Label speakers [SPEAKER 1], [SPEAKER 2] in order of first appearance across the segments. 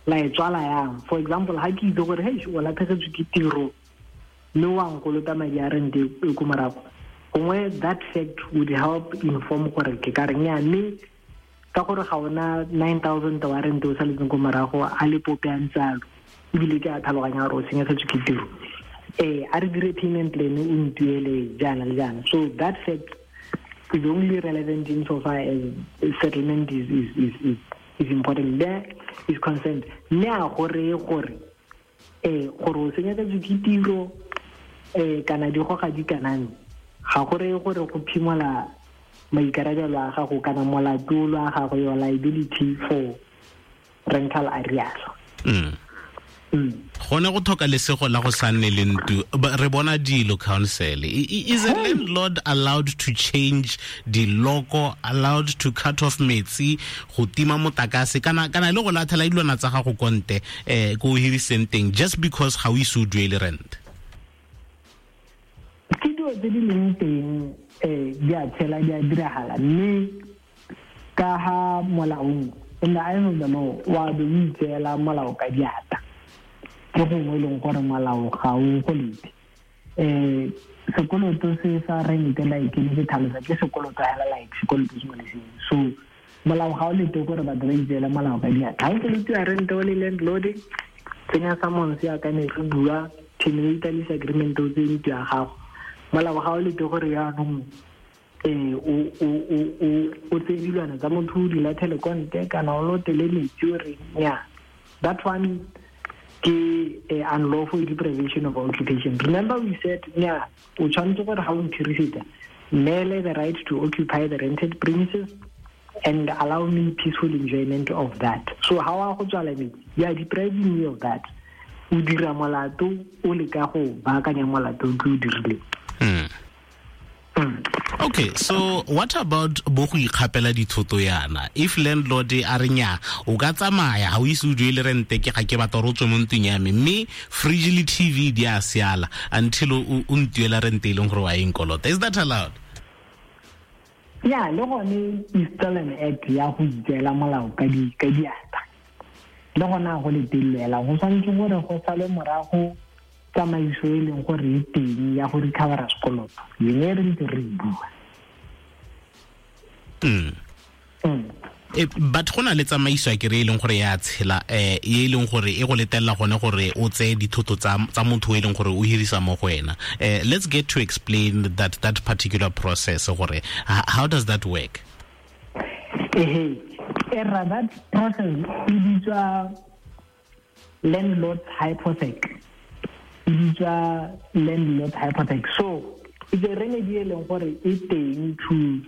[SPEAKER 1] La e tswala yang? For example, ha ke itse gore, hey, o latlhegetswe ke tiro mme wa nkolota madi a rente e ko morago, gongwe that fact would help inform gore ke ka reng ya, mme ka gore ga ona 9000 wa rente o saletseng ko morago a le pope a ntsalo, ebile ke a tlhaloganya gore o senyegetswe ke tiro, a re dire payment plan, o ntuele jaana le jaana. So that fact is only relevant in so far as settlement is important there is concerned. Mme a gore gore o senyegetswe ke tiro kana di goga di kanang, ga gore gore go phimola maikarabelo a gago kana molato a gago, your liability for rental arrears.
[SPEAKER 2] Gone go tlhoka lesego la go sa nne le ntu, re bona dilo. Council, is a landlord allowed to change the logo, allowed to cut off metsi, go tima motakase, kana le go latlhela dilwana tsa gago konte ko o hiriseng teng, just because ga o ise o duele rent?
[SPEAKER 1] Ke dilo tse di leng teng, di a tshela, di a diragala, mme ka ha molaong, in the eyes of the law, wa be o itseela molao ka diata. Ke gongwe e leng gore molao ga o go lete. Sekoloto se sa rente, like ne ke tlhalosa, ke sekoloto hela like sekoloto sengwe le sengwe. So molao ga o lete gore batho ba itseele molao ka diatla. Ga o kolotiwa rente o le landlord, tsenya summons yaka ne re bua, terminate lease agreement, o tseye ntlo ya gago. Molao ga o lete gore yaanong o tseye dilwana tsa motho, o di latlhele kwa ntle, kana o lotele metsi o re nya. That one ke unlawful deprivation of occupation. Remember we said nya o tshwanetse gore ga o nkhirisetsa, neele the right to occupy the rented premises and allow me peaceful enjoyment of that. So ha wa go tswala metsi, you are depriving me of that. O dira molato, o leka go baakanya molato ke o dirileng.
[SPEAKER 2] Okay, so what about bo go ikgapela dithoto yana? If landlord a re nya, o ka tsamaya, ga o ise o duele rente, ke ga ke batla gore o tswe mo ntlong ya me, mme fridge le TV di a siala until o ntuela rente e leng gore wa e nkolota, is that allowed?
[SPEAKER 1] Ya, le gone is still an act ya go itseela molao ka diatla. Le gona go letellela go tshwanetse gore go sale morago tsamaiso e leng gore e teng ya go recovera sekoloto yone re ntse re e bua.
[SPEAKER 2] But go na le tsamaiso ya kere e leng gore ya tshela, e leng gore e go letelela gone gore o tseye dithoto tsa motho e leng gore o hirisa mo go wena. Let's get to explain that particular process, gore how does that work?
[SPEAKER 1] Ehe, era that process e bitswa landlord's hypothec. E bitswa landlord's hypothec. So it's a remedy e leng gore e teng to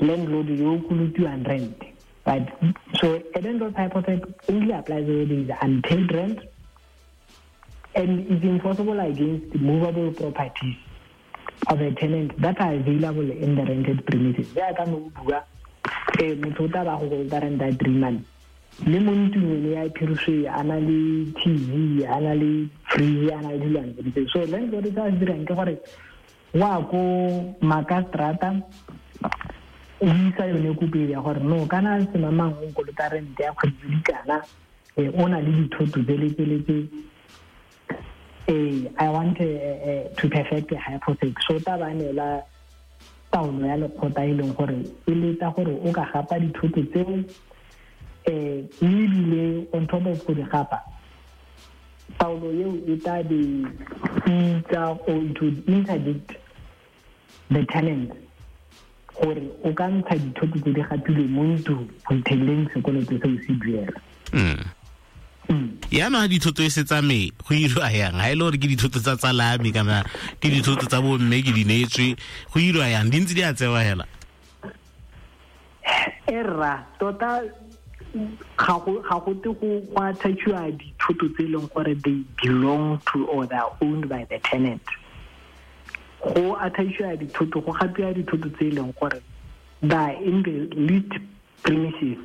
[SPEAKER 1] landlord yo o kolotiwang rent. But so a landlord's hypothec only applies where there is unpaid rent and is enforceable against movable properties of a tenant that are available in the rented premises. Jaaka no bua, motho o tla ba go kolota rent ya 3 months, mme mo ntlong ene ya phiriswe a na le TV, a na le fridge, a na le dilwana tse di. So landlord se a se dirang ke gore wa ko makastrata, o isa yone kopo ya gore no, kana semamang o nkolota rente ya kgwedi tse di kana, o na le dithoto tse le tse le tse, I want to perfect a hypothec. So ta ba neela taolo ya lekgotla e leng gore e letla gore o ka gapa dithoto tseo, mme ebile on top of go di gapa, taolo eo e tla be itsa or it would interdict the tenant gore o ka ntsha dithoto tse di gapilweng mo ntlong go itheleng sekoloto seo se duela.
[SPEAKER 2] Yaanong ga dithoto e se tsame, go irwa yang? Ga e le gore ke dithoto tsa tsalame kana ke dithoto tsa bomme ke di neetswe, go irwa yang? Di ntse di a tsewa hela?
[SPEAKER 1] Erra, tota ga go te go attachiwa dithoto tse e leng gore they belong to or they are owned by the tenant. Go attachiwa dithoto, go gapiwa dithoto tse e leng gore they are in the leased premises,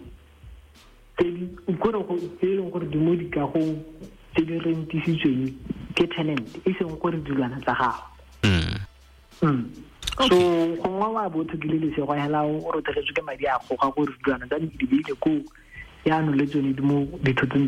[SPEAKER 1] tse di kore tse e leng gore di mo dikagong tse di rentisitsweng ke tenant, e seng gore dilwana tsa gago. So gongwe wa bo tlhokile lesego hela, o rotegetswe ke madi a goga gore dilwana tsa di beile koo, yaanong le tsone di mo dithotong tse.